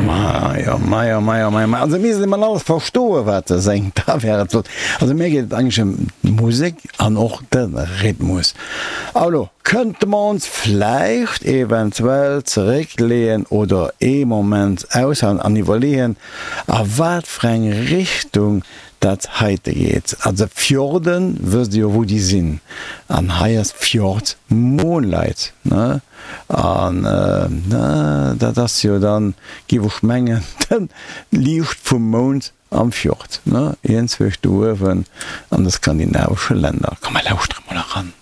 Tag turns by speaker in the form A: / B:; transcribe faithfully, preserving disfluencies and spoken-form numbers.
A: Majo, majo, majo, majo, majo. Also misst een alles verstoen, wat e séngt, da wär et flott. Also mir geet et eigentlech ëm d'Musek an och de Rhythmus. Alo kënnte mer ons vläicht eventuell zeréckleeën oder ee Moment aushalen an iwwerleeën, a wat fir eng Richtung dat heite geet. Also Fjorden wësst Dir jo wou déi sinn an hei ass Fjord Moonlight, ne? An dat ass jo dann, géif ech mengen, de Liicht vum Mound am Fjord, ne? Iergendzwousch do uewen an de skandinavesche Länner. Komm mer lauschtere mol eran.